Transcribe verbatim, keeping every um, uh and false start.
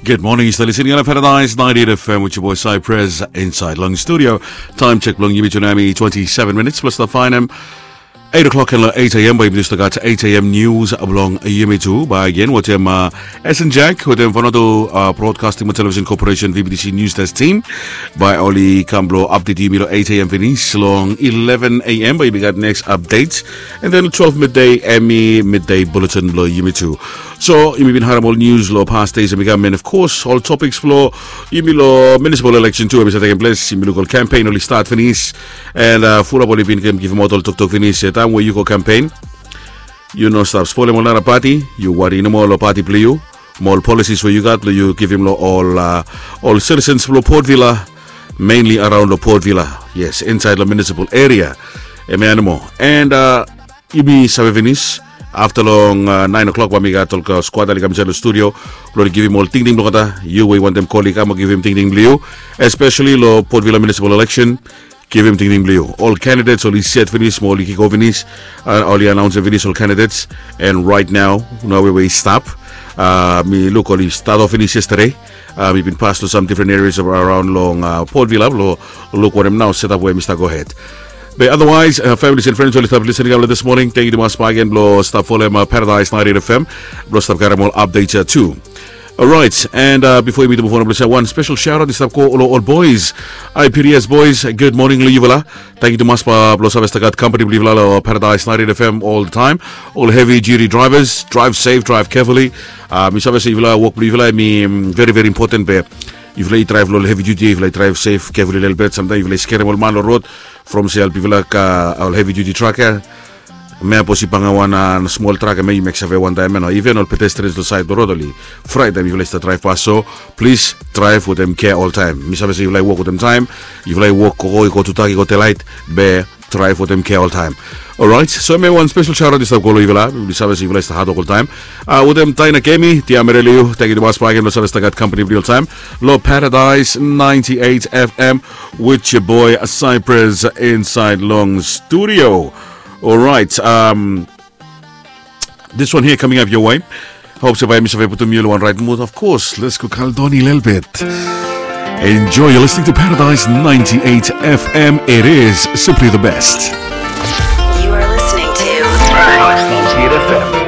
Good morning, yu stap listening long Paradise ninety-eight F M with your boy Cypress inside long studio. Time check blong yumi tu nao hemi twenty-seven minutes plus the fine em eight o'clock and eight a.m. Bae yumi tu stap gat eight a.m. news blong yumi tu. Bae again wetem uh, S N Jack wetem Vanuatu uh, Broadcasting and Television Corporation V B T C News Desk team. Bae oli kam blong update yumi long eight a.m. finis. Long eleven a.m. bae yumi gat next update. And then twelve midday hemi midday bulletin blong yumi tu. So yumi bin harem ol news long past days hemi kam, and of course ol topics blong yumi long municipal election tu hemi stap tekem ples. Yumi luk ol campaign oli start finis, and uh, fulap oli bin givim aut ol toktok finis. Taem we yu go campaign, yu no stap spolem ol nara pati. Yu wari nomo long pati blong yu, mo ol policies we yu gat blong yu givim long ol uh, ol citizens blong Port Vila, mainly around long Port Vila. Yes, inside long municipal area. Hemia nomo. And uh, yumi save finis afta long uh, nine o'clock bae mi gat ol squad oli kam insaed long studio blong oli givim ol tingting blong olgeta. Yu we yu wantem kol i kam o givim tingting blong yu, especially long Port Vila municipal election. Givim tingting blong yu. Ol candidates oli set finis mo oli kiko finis. Uh, oli anaonsem finis ol candidates. And right now nao we we i stap, uh, mi luk oli stat of finis yesterday. Uh, mi bin pas long some different areas of around long uh, Port Vila blong luk wanem nao setup we hemi stap gohed. Be otherwise uh, families and friends oli stap listening up this morning, thank you tumas bae again blong stap folem uh, Paradise ninety-eight F M blong stap karem ol updates uh, tu. Alright, and uh, bifo yumi tu move on blong se wan special shout out i stap go long ol boys. Hi P D S boys, good morning long yufala. Thank you tumas blong save stap gat company blong yufala long Paradise ninety-eight F M all the time. Ol heavy duty drivers, drive safe, drive carefully. Uh, mi save se yufala wok blong yufala hemi mm, very very important be yufala i drive long ol heavy duty, yufala i drive safe carefully lelebet. Samtaem yufala i skerem ol man long rod from se help yufala ka ol heavy duty truck ia. Mea bos i banga wan uh, smol truck ia, me yu mek save wantaem ia no, even ol pedestrians long saed blong rod oli fraet taem yufala i stap drive pas. So please drive wetem care oltaem. Mi save se yufala i wok wetem taem, yufala i wok gogo i go tudak i go delaet, be drive wetem care oltaem. Alright, so hemia wan special shout out i stap go long yufala. Mi save se yufala i stap hadwok oltaem. Uh, wetem Daina Kemi, Tia Mereliu, thank you tumas bae again blong save stap gat company blong yu oltaem long Paradise ninety-eight F M with your boy Cypress inside long studio. Alright, um, this one here coming up your way. Hope se bae mi save putum yu long wan right mood. Of course, let's go kaldoni lelebet. Enjoy, you're listening to Paradise ninety-eight F M. It is simply the best. You are listening to Paradise ninety-eight F M.